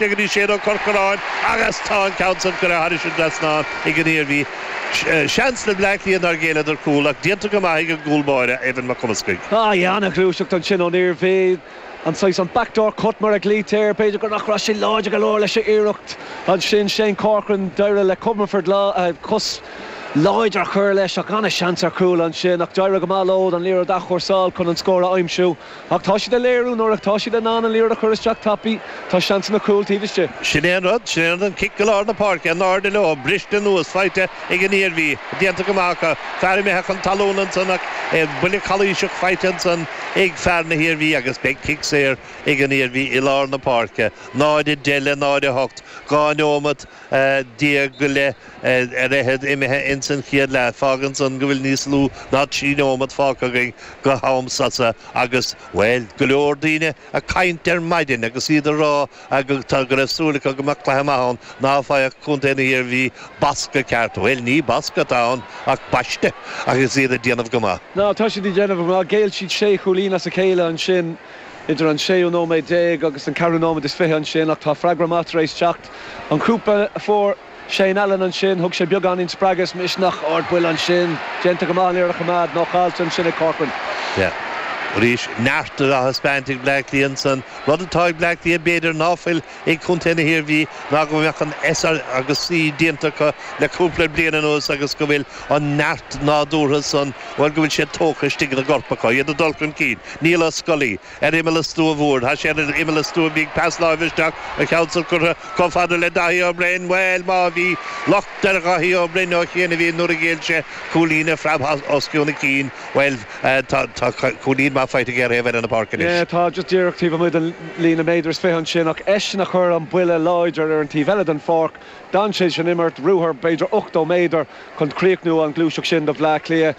Go dtí Shane Ó Corcoráin agus tá an ceann san curtha thairis an dtrasnán ag an Iarmhí. Seans le Bleá Cliath nár ghéilleadar cúl ach déanta go maith ag an gcúl báire, Evan Mac Cumascaigh. Ah yeah, ana-ghluaiseacht ansin ón Iarmhí. An saghas, an backdoor cut mar a ghlaoitear air. B'fhéidir go nach raibh sé láidir go leor leis an iarracht ansin. Shane Corcoran, d'éirigh le Comerford cos láidir a chur leis ach ana-sheans ar chúl ansin ach d'éirigh go maith leo an liathróid a athchúrsáil chun an scór a aimsiú. Ach tá siad ag léiriú nuair atá siad in ann an liathróid a chur isteach tapaidh, tá seansanna cúil taobh istigh. Sin é an rud, sin é an rud, an cic go lár na páirce, in airde leo, briste anuas, faighte ag an Iarmhí, déanta go maith acu, fear imithe chun talún ansan ach buille calaoiseach faighte ansan ag fear na hIarmhí agus beidh cic saor ag an Iarmhí i lár na páirce, 0-10 le 0-8, 12 neomat. go leith ar fhichead imithe ins an chéad leath. Fágann san go bhfuil níos lú ná 3 neomat fágtha againn go ham sosa agus, bhuel, go leor daoine ag caint ar maidin agus iad ag rá go go raibh súil acu go mbeadh cluiche maith ann, ná faigheadh contae na hIarmhí bascadh ceart. Bhuel, ní bascadh atá ann ach baisteadh agus iad ag déanamh go maith. Ná, tá siad ag déanamh go maith. Ghéill siad sé chúilín as a chéile ansin idir an séú nóiméad déag agus an ceathrú nóiméad is fiche ansin ach tá freagra maith tar éis teacht. An cúpla a fuair Shane Allen ansin, thug sé beagáinín spreagadh is misneach. Ardbhuille ansin. Déanta go maith an liathróid a choimeád, nó caillte ansin ag Corcoran. Yeah. Arís, neart á thaispeáint ag Bleá Cliath ansan. Rud atá ag Bleá Cliath b'fhéidir ná fuil ag contae na hIarmhí ná go mbeadh an S agus C déanta acu le cúpla bliain anuas agus go bhfuil an neart nádúrtha san, bhuel, go bhfuil sé tógtha istigh ina gcorp acu. Iad ag dul chun cinn. Niall Ó Scolaí. Ar imeall an stua mhóir. Tá sé ar imeall an stua bhí pas láimhe isteach, an ceann san curtha chomh fada le Daithí Ó Broin. Bhuel, má bhí locht ar Dhaithí Ó Broin ó chianaibh nuair a ghéill sé cúilín a phreab os cionn a chinn, bhuel, tá cúilín maith faighte aige ar thaobh eile na páirce anois. Yeah, tá, just díreach taobh amuigh den líne méadar is fiche ansin ach eisean a chuir an buille láidir ar an taobh eile den pháirc. D'fhan sé san imirt, ruathar b'fhéidir 80 méadar chun críochnú an ghluaiseacht sin do Bhleá Cliath.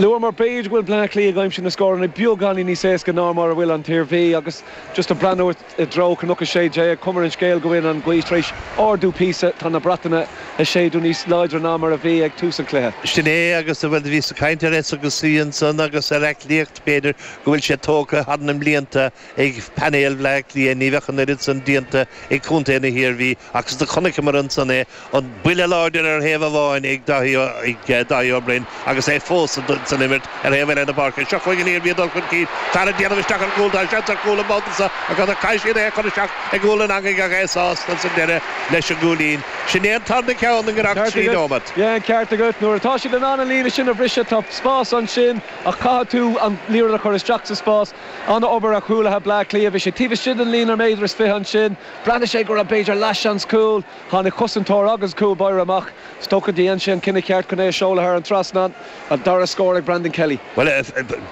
Luamar b'fhéidir go bhfuil Bleá Cliath ag aimsiú na scóranna beagáinín níos éasca ná mar a bhfuil an tIarmhí agus just ag breathnú i dtreo Cnoc 16, cuma ar an scéal go bhfuil an ghaoth tar éis ardú píosa, tá na bratanna ag séideadh níos láidre ná mar a bhí ag tús an chluiche. Sin é agus bhuel bhíos ag caint ar S agus C ansan agus ar aclaíocht b'fhéidir go bhfuil sé tógtha thar na mblianta ag painéal Bhleá Cliath, ní bheadh an oiread san déanta ag contae na hIarmhí agus do chonaiceamar ansan é, an buille láidir ar thaobh amháin ag Daithí Ó Broin agus é fós san imirt ar thaobh eile na páirce. Seo chugainn an Iarmhí ag dul chun cinn, fear ag déanamh isteach ar an gcúl, tá seans ar chúl an babhta seo agus caithfidh siad é a chur isteach i gcúl an eangaigh ach é sásta san deireadh leis an gcúilín. Sin é an tarna ceann i ngiorracht trí nóimeat. Yeah, an ceart agat. Nuair atá siad in ann an líne sin a bhriseadh, tá spás ansin ach caithfidh tú an liathróid a chur isteach sa spás. An-obair ar chúlaithe Bleá Cliath. Bhí sé taobh istigh den líne méadar is fiche ansin. Bhreathnaigh sé go raibh b'fhéidir leathsheans cúil. Tháinig cosantóir agus cúl báire amach. Is dócha dhein sé an cinneadh ceart chun é a seoladh thar an trasnán. An dara scór ag Brandon Kelly. Bhuel,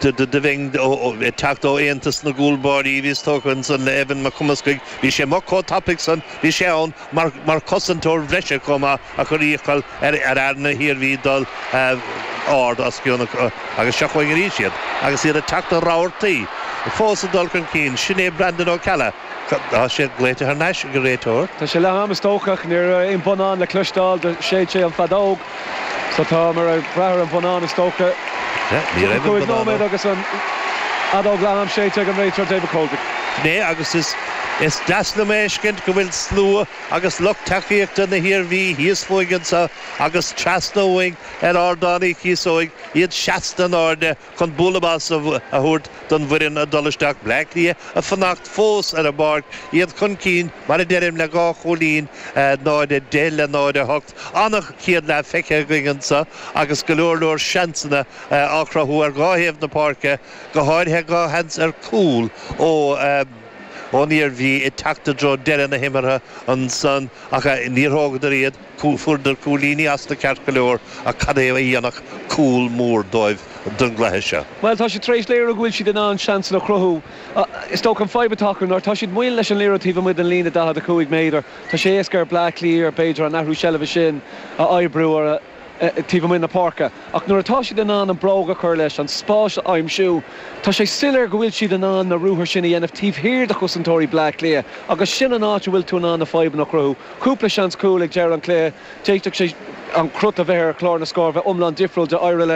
do bheinn ag teacht ó Aontas na gCúl Báirí, bhíos tógtha ansan le Evan Mac Cumascaigh. Bhí sé amuigh chomh tapaidh san, bhí sé ann mar chosantóir bhreise chomh maith. a chuir iachall ar fhear na hIarmhí dul ard os cionn agus seo chugainn arís iad agus iad ag teacht i rabhartaí fós ag dul chun cinn. Sin é Brandon Ó Ceallaigh. Tá sé glaoite thar n-ais ag an réiteoir. Tá sé leath am is dócha ach ní raibh aon bhonnán le cloisteáil do shéid sé an feadóg so tá mar ag brath ar an bhonnán is dócha. Ní raibh an 5 bonnán nóiméad agus an fheadóg leath am séidte ag an réiteoir David Coldrick. Sin é agus is deas liom a fheiscint go bhfuil slua agus lucht tacaíochta na hIarmhí thíos fúinn anseo agus trasna uainn ar Ardán Uí Chíosóig, iad seasta in airde chun bualadh bos a thabhairt don bhfoireann ag dul isteach. Bleá Cliath ag fanacht fós ar an bpáirc, iad chun cinn, mar a deirim, le dhá chúilín, 0-10 le 0-8. An-chéad leath feicthe againn anseo agus go leor leor seansanna á chruthú ar dhá thaobh na páirce, go háirithe dhá sheans ar chúl ó. ón Iarmhí ag teacht i dtreo deireadh na himeartha ansan ach níor thógadar iad. Fuaireadar cúilíní astu ceart go leor ach cad é a dhéanfadh cúl mór dóibh don gcluiche seo? Bhuel, tá siad tar éis léiriú go bhfuil siad in ann seansanna a chruthú. Is dócha an fadhb atá acu nuair atá siad moill leis an liathróid taobh amuigh den líne 45 méadar, tá sé éasca ar Bleá Cliath b'fhéidir an athrú seilbhe sin a oibriú ar a taobh amuigh na páirce. Ach nuair atá siad in ann an bróg a chur leis, an spás a aimsiú, tá sé soiléir go bhfuil siad in ann na ruathair sin a dhéanamh taobh thiar de chosantóirí Bleá Cliath agus sin an áit a bhfuil tú in ann na fadhbanna a chruthú. Cúpla seans cúil ag deireadh an chluiche, d'fhéadfadh sé. an crot a bheith ar chlár na scór bheith iomlán difriúil d'éirigh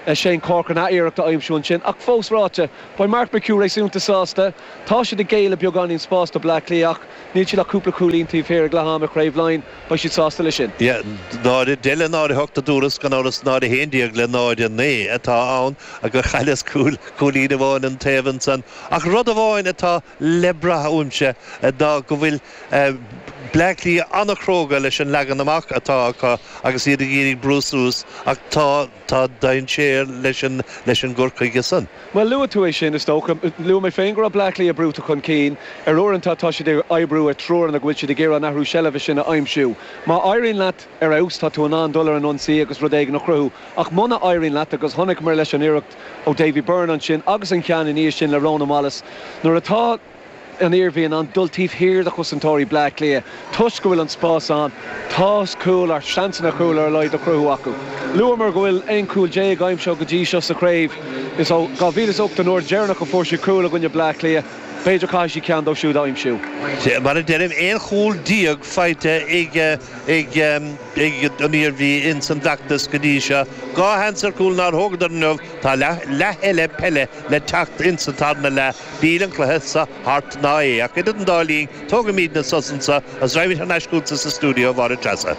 le Shane Corcoran ath-iarracht a aimsiú ansin. Ach fós ráite, beidh Mark McHugh réasúnta sásta. Tá siad ag géilleadh beagáinín spáis do Bleá Cliath ach níl siad ach cúpla cúilín taobh thiar ag leath ama i Craobh Laighean. Beidh siad sásta leis sin. Yeah, 0, 10 le 0, 8 a dúras, gan amhras 0, 11 le 0, 9 atá ann gur chailleas cúl, cúilín amháin an taobh ansan. Ach rud amháin atá le brath uaimse ná go bhfuil Bleá Cliath an-chróga leis an leagan amach atá acu agus iad ag iarraidh brú suas ach tá tá dainséar leis an leis an gcur chuige san. Bhuel, luaigh tú é sin, is dócha. Luaigh mé féin go raibh Bleá Cliath brúite chun cinn. Ar uaireanta tá siad ag oibriú ar triúranna go bhfuil siad ag iarraidh an athrú seilbhe sin a aimsiú. Má éiríonn leat ar fheabhas, tá tú in ann dul ar an ionsaí agus rud éigin a chruthú. Ach muna éiríonn leat, agus chonaiceamar leis an iarracht ó Davy Byrne ansin agus an ceann ina dhiaidh sin le Ronan Wallace, nuair atá an Iarmhí in ann dul taobh thiar de chosantóirí Bleá Cliath toisc go bhfuil an spás ann, tá cúil, ar seansanna cúil ar a laghad a chruthú acu. Luamar go bhfuil 11 cúl aimsithe go dtí seo sa chraobh. Is ó 2008 an uair dheireanach a fuair siad cúl i gcoinne Bleá Cliath. B'fhéidir caithfidh siad ceann dóibh siúd a aimsiú. Mar a deirim, 11 chúl faighte ag ag an Iarmhí ins an bhfeachtas go dtí seo. 2 sheans ar chúl nár thógadar inniu. Tá leath eile peile le teacht ins an tarna leath. Níl an cluiche seo thart ná é. Ach idir an dá linn, tógaimidne sos anseo agus raghaimid thar n-ais chugatsa sa stiúideo, a Mháire Treasa.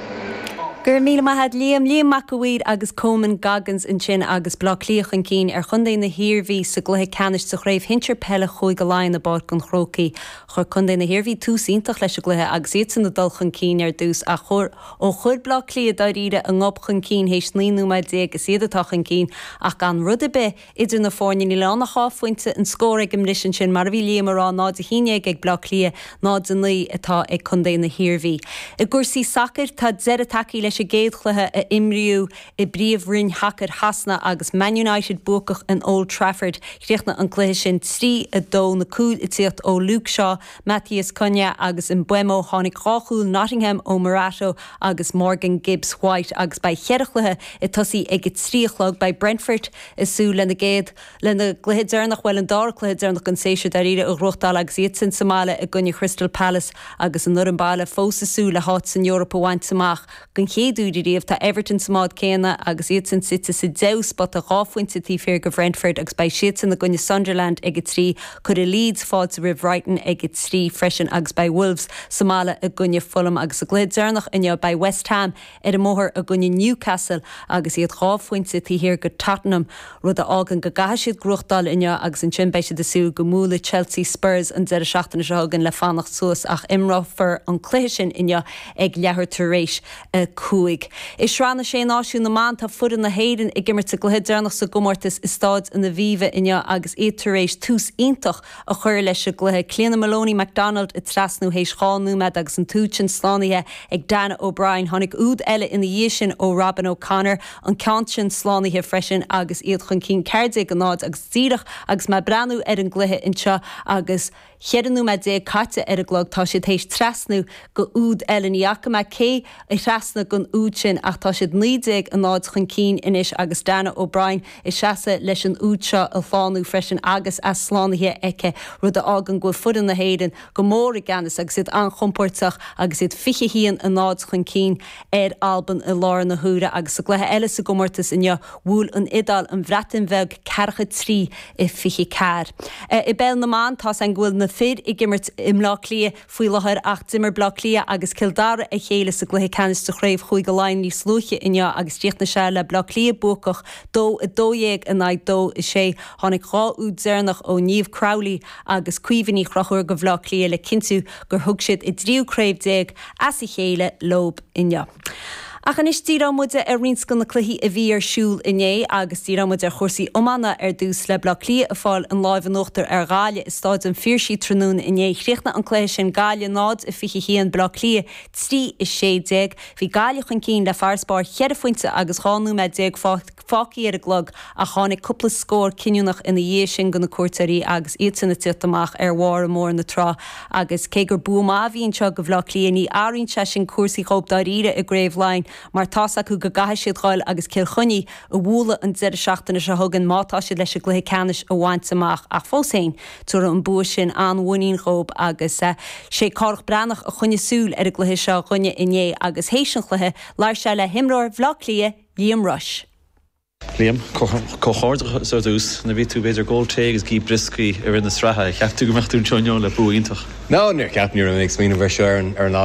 Go raibh míle maith a't Liam. Liam Mac a' Mhaoir agus Coman Goggins ansin agus Bleá Cliath chun cinn ar chontae na hIarmhí sa gcluiche ceannais sa chraobh shinsir peile Chúige Laighean i bPáirc an Chrócaigh. Chuir contae na hIarmhí tús iontach leis an gcluiche agus iadsan ag dul chun cinn ar dtús ach chuir ó chuir Bleá Cliath dáiríre a ngob chun cinn théis 19 nóiméad is iad atá chun cinn ach gan rud ar bith Idir na foirne, níl ann ach 2 phointe an scór ag an mbriseadh ansin, mar a bhí Liam a rá, 0-11 ag Bleá Cliath, 0-9 atá ag contae na hIarmhí. I gcúrsaí sacair, tá deireadh tagtha leis an gcéad chluiche a imríodh i bPríomh-Roinn Shacair Shasana agus Man United buacach in Old Trafford. Chríochnaigh an cluiche sin 3-2, na cúil ag tíocht ó Luke Shaw, Matheus Cunha agus Mbeumo. Tháinig dhá chúl Nottingham ó Morato agus Morgan Gibbs-White agus beidh cheithre chluiche ag tosaí ag a trí a chlog. Beidh Brentford ag súil lena gcéad, lena gcluiche deireanach, bhuel an dara cluiche deireanach den séasúr dáiríre, a ghnóthachtáil agus iadsan sa mbaile i gcoinne Crystal Palace agus an fhoireann baile fós ag súil le háit san Eoraip a bhaint amach den chéad uair ariamh. Tá Everton sa mbád céanna agus iadsan suite sa deichiú spota, 2 phointe taobh thiar de Bhrentford agus beidh siadsan i gcoinne Sunderland ag a 3. Cuirfidh Leeds fáilte roimh Bhrighton ag a 3 freisin agus beidh Wolves sa mbaile i gcoinne Fulham agus sa gcluiche deireanach inniu beidh West Ham ar an mbóthar i gcoinne Newcastle agus iad 2 phointe taobh thiar de Tottenham, rud a fhágann go gcaithfidh siad gnóthachtáil inniu agus ansin beidh siad ag súil go mbuailfidh Chelsea Spurs an deireadh seachtaine seo chugainn le fanacht suas ach imreofar an cluiche sin inniu ag leathuair tar éis a 5. I Sraith na Sé Náisiún na mBan tá foireann na hÉireann ag imirt a gcluiche deireanach sa gcomórtas i Stáid an Aviva inniu agus iad tar éis tús iontach a chur leis an gcluiche. Cliona Moloney McDonald ag trasnú théis 2 nóiméad agus an t-úd sin slánaithe ag Dannah O'Brien. Tháinig úd eile ina dhiaidh sin ó Robyn O'Connor, an ceann sin slánaithe freisin agus iad chun cinn 14-0 agus díreach agus mé ag breathnú ar an gcluiche anseo agus 14 nóiméad caite ar an gclog tá siad théis trasnú go úd eile. Ní fhaca mé cé a thrasnaigh don úd sin ach tá siad 19-0 chun cinn anois agus Dannah O'Brien ag seasamh leis an úd seo a shlánú freisin agus é slánaithe aici, rud a fhágann go bhfuil foireann na hÉireann go mór i gceannas agus iad an-chompóirteach agus iad 21-0 chun cinn ar Albain i láthair na huaire. Agus sa gcluiche eile sa gcomórtas inniu, bhuail an Iodáil an Bhreatain Bheag ceathracha 3 a 24. I bPeil na mBan, tá's againn go bhfuil na fir ag imirt i mBleá Cliath faoi láthair ach d'imir Bleá Cliath agus Cill Dara a chéile sa gcluiche ceannais de chraobh Chúige Laighean níos luaithe inniu agus chríochnaigh sé le Bleá Cliath buacach 2 12 in aghaidh 2 6. Tháinig 2 úd deireanach ó Niamh Crowley agus Caoimhe Ní Chonchúir do Bhleá Cliath le cinntiú gur thug siad a dtríú craobh as a chéile leob inniu. Ach anois díreoidh muid ar roinnt de na cluichí a bhí ar siúl inné agus díreoidh muid ar chúrsaí iomána ar dtús le Bleá Cliath ag fáil an láimh in uachtar ar Ghaillimh i Stáid an Phiarsaigh tráthnóna inné. Chríochnaigh an cluiche sin Gaillimh 0, 21, Bleá Cliath 3, 16. Bhí Gaillimh chun cinn le farasbarr cheithre phointe agus 12 nóiméad fágtha ar an gclog ach tháinig cúpla scór cinniúnach ina dhiaidh sin do na cuairteoirí agus iadsan ag tíocht amach ar bharr mór na trá agus cé gur bua maith a bhí anseo do Bhleá Cliath ní athraíonn sé sin cúrsaí dhóibh dáiríre i gCraobh Laighean. mar tá's acu go gcaithfidh siad dhul agus Cill Chainnigh a bhualadh an deireadh seachtaine seo chugainn má tá siad leis an gcluiche ceannais a bhaint amach ach fós féin tabharfaidh an bua sin an-mhuinín dhóib agus sé Cárthach Breathnach a choinnigh súil ar an gcluiche seo dhúinne inné agus théis an chluiche labhair sé le himreoir Bhaile Átha Cliath, Liam Rushe. Liam, comhghairdeachas ar dtús. Nuair a bhí tú b'fhéidir ag ól tae agus ag ithe brioscaí i rith na sraithe, cheap tú go mbeadh tú anseo inniu le bua iontach? No, níor cheap, ní raibh mé ag smaoineamh ar seo ar an lá.